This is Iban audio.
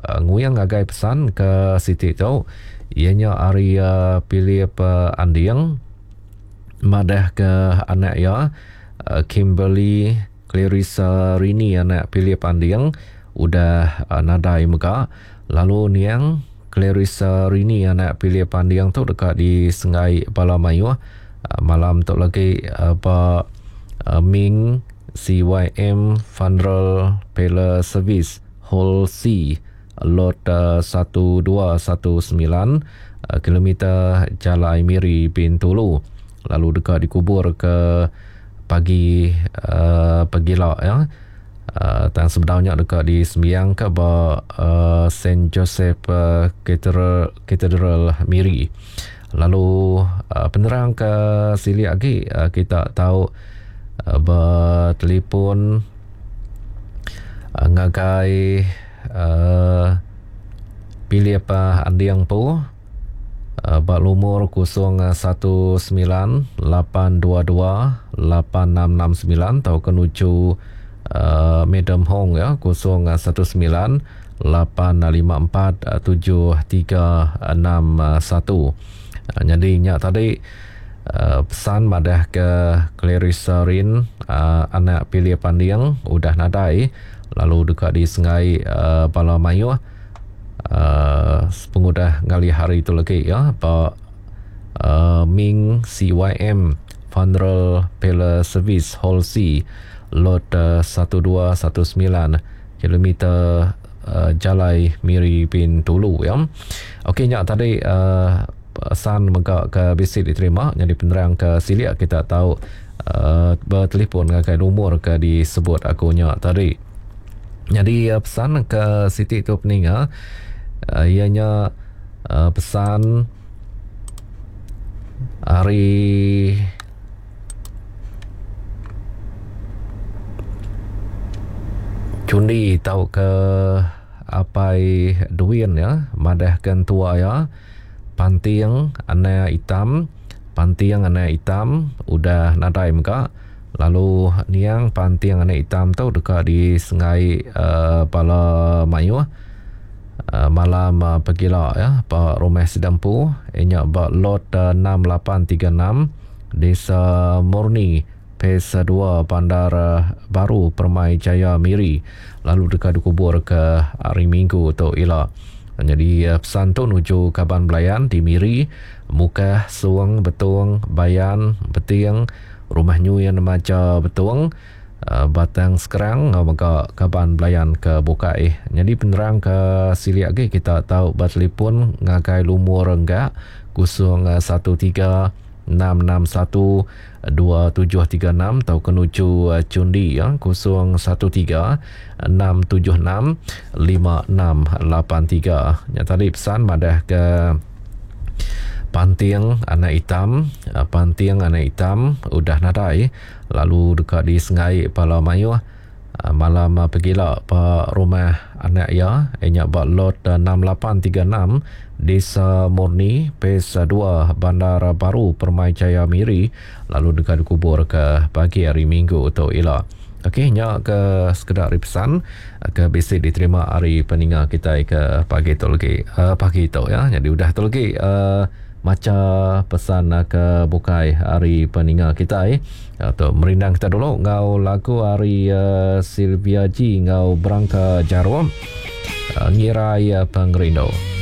nguing ngagai pesan ke siti tu iya nya ari Philip Anding madah ke anak iya Kimberly Clarissa Rini anak Philip Anding udah nadai mega lalu niang Clarissa Rini anak Philip Anding tu deka disenggai bala mayuh malam tu lagi ba Ming CYM Funeral Parlour Service Hall C Lot 1219 kilometer Jalai Miri Bintulu lalu deka dikubur ke pagi pagila ya. Tang sebedau nya deka disembiangka ba Saint Joseph Cathedral, Cathedral Miri. Lalu penerang ke silik agi kita tau betelefon ngagai Philip Anding Empu. Ba lumur 019 822 8669 tauka nuju Madam Hong ya 019 854 7361. Nyadi nya tadi pesan madah ke Clarissa Rin anak Pilih Panding udah nadai lalu deka disenggai bala mayuh. Sepengudah ngalih hari tu lagi ya ba Ming CYM Funeral Parlour Service Hall C Lot 1219 kilometer Jalai Miri Bintulu ya. Okey nya tadi pesan mega ke bisi diterima nyadi penerang ke silik kita tau betelefon ngagai lumur ke disebut aku nya tadi. Nyadi pesan ke siti tu peninga iya nya pesan ari Chundi tauka Apai Duin iya madah ke entua iya Panting Anak Itam Panting Anak Itam udah nadai mega. Lalu niang panting anak itam tu deka disenggai bala mayuh malam pegila iya ba rumah sida empu iya nya ba lot 6836 Desa Murni Phase 2 Bandar Baru Permai Jaya Miri lalu deka dikubur ke hari Minggu tu ila. Nyadi pesan tu nuju kaban belayan di Miri, Mukah, Song, Betong, Bayan, Beting, Rumah Nyuin Maja Betong, Batang Skrang enggau mega kaban belayan ke bukai. Nyadi penerang ke silik agi kita tau betelefon ngagai lumur enggak 013 661 2736 tauka nuju Chundi 013 676 5683. Nya tadi pesan madah ke Panting anak itam Panting anak itam udah nadai lalu deka disenggai bala mayuh malam pegila ba rumah anak iya iya nya ba Lot 6836 Desa Murni Phase 2 Bandar Baru Permai Jaya Miri lalu deka dikuburka pagi hari Minggu tu ila. Okey nya ke sekeda ari pesan ke bisi diterima ari peninga kitai ke pagi tu legi pagi tu ya nyadi udah tu legi macha pesan ke bukai ari peninga kitai tu merindang kita dulu enggau lagu ari Sylvia G enggau Berangka Jarum ngirai pengerindu.